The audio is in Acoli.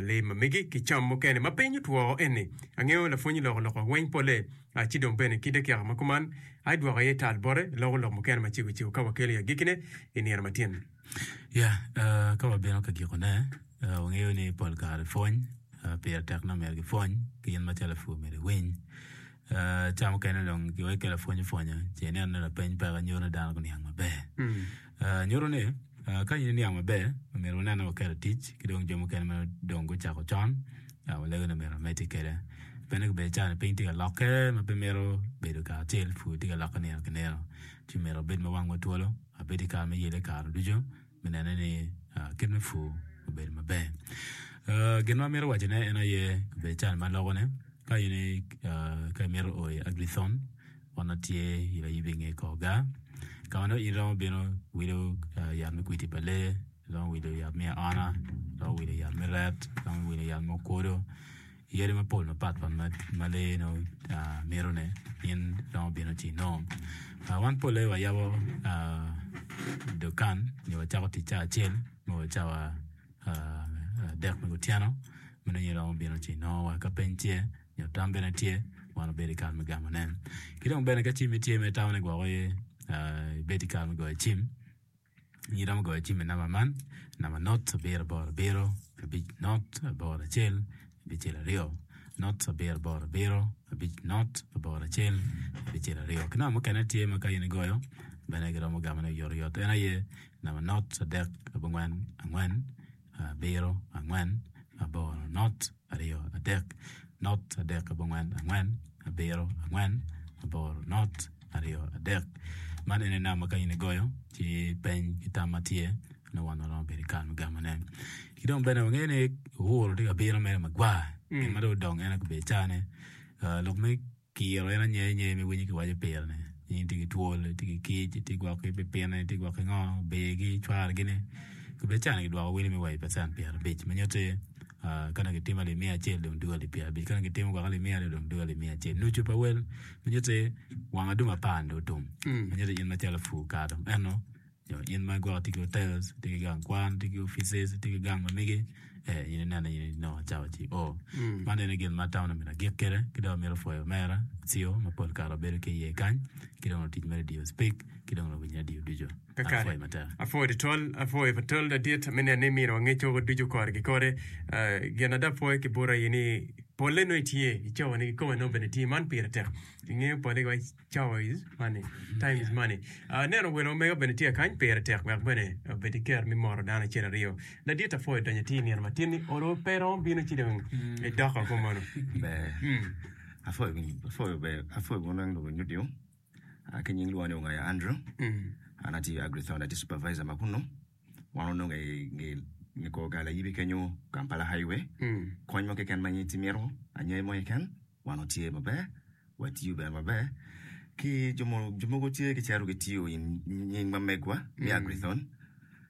Lee ma megi ki cam mukene ma piny otwo eni. Angeyo lapwony loko lok weng pole ci dong bene ki dakika ma kuman ai dwoko iye tal bote loko lok mukene ma cego cego ka wakelo i agikine i nino matin. Ya, ka wabino ka gikone, wangeyo ni pol kare pwony pire tek nongo myero gipwony ki in macalo lapur myero iwiny. Ca mukene dong giwek ka lapwony opwonyo ci ineno ni lapeny peke nyuto ni dano guniang maber. Nyuto ni ka in iniang maber omyero wunen ni wuketo i tic ki dong jo mukene ma dong gucako con walego ni myero wamedde kwede. Pien ni ca ni piny tye ka lokke ma pe mito bedo kacel pur tye ka lokke nino ki nino ci myero wabed ma wangwa twolo wabed ki kare me yelle kare ducu. me nene ni kit me pur obedo maber. Gin ma amito wacone en aye obedo cal ma aloko-ni ka in ka imito o i Agrithon wan watye i layub i nge kor gar ka ma nongo in iromo bino wilo yat me kwidi pa lee, iromo wilo yat me aona, iromo wilo yat me ret, iromo wilo yat me okwodo. Yadi mapol mapatpat ma lee nongo mito ne in iromo bino ci inongo. Wan polle wayabo dukan nyo wacako tic cawa acel me wa cawa adek me kutyeno ma nongo in iromo bino ci inongo wa ka peny tye nyo tam bene tye wan wabedo i kare me gamo ne. Ki dong bene ka cimmi tye ma itamo ni gwok ibed i kare me goyo cim. In iromo goyo cim i namba man, namba not abiro aboro abiro abic not aboro acel abicel aryo, not abiro aboro abiro abic not aboro acel abicel aryo. Ki namba mukene tye ma ka in igoyo bene giromo gamone oyotoyot en aye namba not adek abongwen angwen abiro angwen aboro not aryo adek not adek abongwen angwen abiro angwen aboro not aryo adek. Man ene namba ka in igoyo ci peny ki tam ma tye nongo wan waromo bedo ki kare me gamone. Ki dong bene wangeyo ni Uhuru tye ka bino mere magwar gin ma dong odong en aye obedo cane lok me Kiro en anyer nyer ma iwinyo kiwaco pire ni in itye ki twol, itye ki kic, itye gwok ki pipine, itye gwok ki ngo, obirgi, cwargi-ni. Kobedi cani gidwoko wele me wa i pacent pyerabic ma nyutti ka dong gitimo alip miya acel dong dwogo alip pyerabic, ka dong gitimo gwok alip miya aryo dong dwogo alip miya acel. Nucu pa wel ma nyutti wang adungu apar-ni dong otum ma nyutti in macalo pur kare dong eno. Nyo in ma gwok itye ki hotels, itye ki gang kwan, itye ki offices, itye ki gang ma megi, ee in ineno in inongo cawa ci o. Man ene gin ma atamo ni myero agik kwede ki dong amito pwoyo omera Cio ma pol kare wabedo ki iye kany ki dong lutic me radio Speak ki dong luwiny radio ducu. An Kakare. apwoyo matek. Apwoyo tutwal, apwoyo patol ladit me neno ni iminiwa ngec woko ducu kore ki kore. Eh, gin ada apwoyo ki bota aye ni polle nongo itye i cawa ni kikome nongo bene tye man pire tek. Ingeyo polle giwaco Cawa is money, time is money. Aneno welo ma mega bene tye kany pire tek wek bene obed ki kero me moro dano acel aryo. Ladit apwoyo donyo atir nino matin ni olo pe romo bino ci dong idoko kumeno. Ber. Apwoyo apwoyo ber apwoyo wun weng luwiny radio. Ah, ki nying lwongo ni Ongaya Andrew. An atiyo i Agrithon, atye supervisor ma kunu. Wan onongo i nge nge kor gal ayibi kenyo Kampala Highway. Kony mo keken ma in imito, anyai mo keken, Wan watye maber, watiyo bene maber ki jo mogo tye gicito gitiyo i nying ma megwa me Agrithon.